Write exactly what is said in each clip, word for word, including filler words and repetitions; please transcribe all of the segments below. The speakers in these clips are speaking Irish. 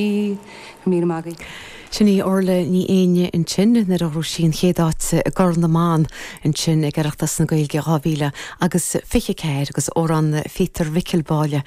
Míle maith agaibh. Sin í Orla Ní Éinne ansin nuair a ghnóthaigh sí an chéad áit i gCorn na mBan ansin ag Oireachtas na Gaeilge dhá mhíle agus fiche ceathair agus amhrán Phíotair Mhicil Báille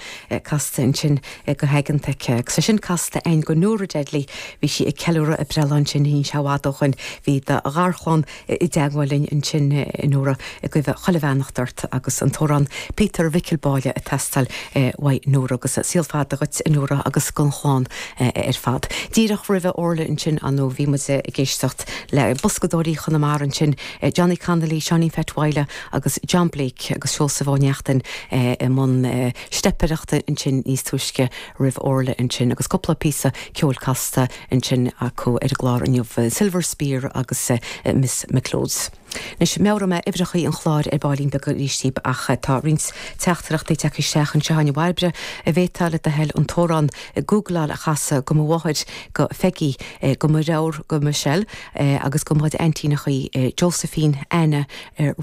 casta ansin go haigeanta aici. Agus é sin casta againn do Nóra Deadly bhí sí ag ceiliúradh a breithlá ansin ní i bhfad ó shin bhí do gharchlann i dteagmháil linn ansin Nóra ag guí chuile bheannacht ort agus an t-amhrán Peter Mhicil Báille ag teastáil uaidh Nóra agus saol fada dhuit Nóra agus don chlann ar fad. Díreach roimh Orla ansin anó bhí muid ag éisteacht le boscadóirí Chonamara ansin Johnny Connolly, Seáinín Pheait Mhaidhle agus John Blake agus Seosamh Ó Neachtain i mbun steipireachta ansin níos túisce roimh Orla ansin agus cúpla píosa ceoil casta ansin acu ar an gclár inniu Silver Spear agus Miss McLeod's. Anois meabhróidh mé uimhreacha an chláir ar baillín beag arís ach tá roinnt teachtaireachtaí tagtha isteach anseo a Bhairbre an bhféadfá le do thoil an t-amhrán Googleáil a chasadh do mo mháthair do Pheggy do mo dheartháir do Michelle agus do mo chuid aintíneacha Josephine, Anna,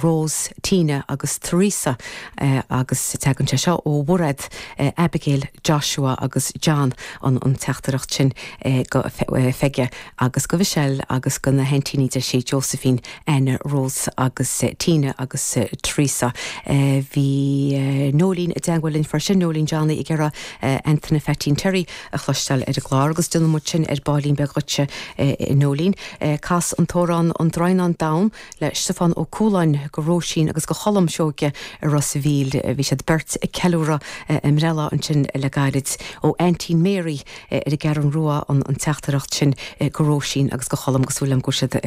Rose, Tina agus Teresa agus tagann sé seo ó Mhairéad, Abigail, Joshua agus John an an teachtaireacht sin do Pheggy agus do Michelle agus do na haintíní de sé Josephine, Anna, Rose agus Tina agus Teresa. Bhí Nólín i dteagmháil linn freisin Nólín Johnny ag iarraidh Anthony Pheaitín Terry a chloisteáil ar an gclár agus déanfaidh muid sin ar baillín beag dhuitse Nólín. Cas an t-amhrán an Draighneán Donn le Stiofán Ó Cualáin do Róisín agus do Cholm Seoige i Ros an Mhíl bhí siad beirt ag ceiliúradh a mbreithlá ansin le gairid ó Aintín Mary ar an gCeathrú Rua an an teachtaireacht sin do Róisín agus do Cholm go súil go siad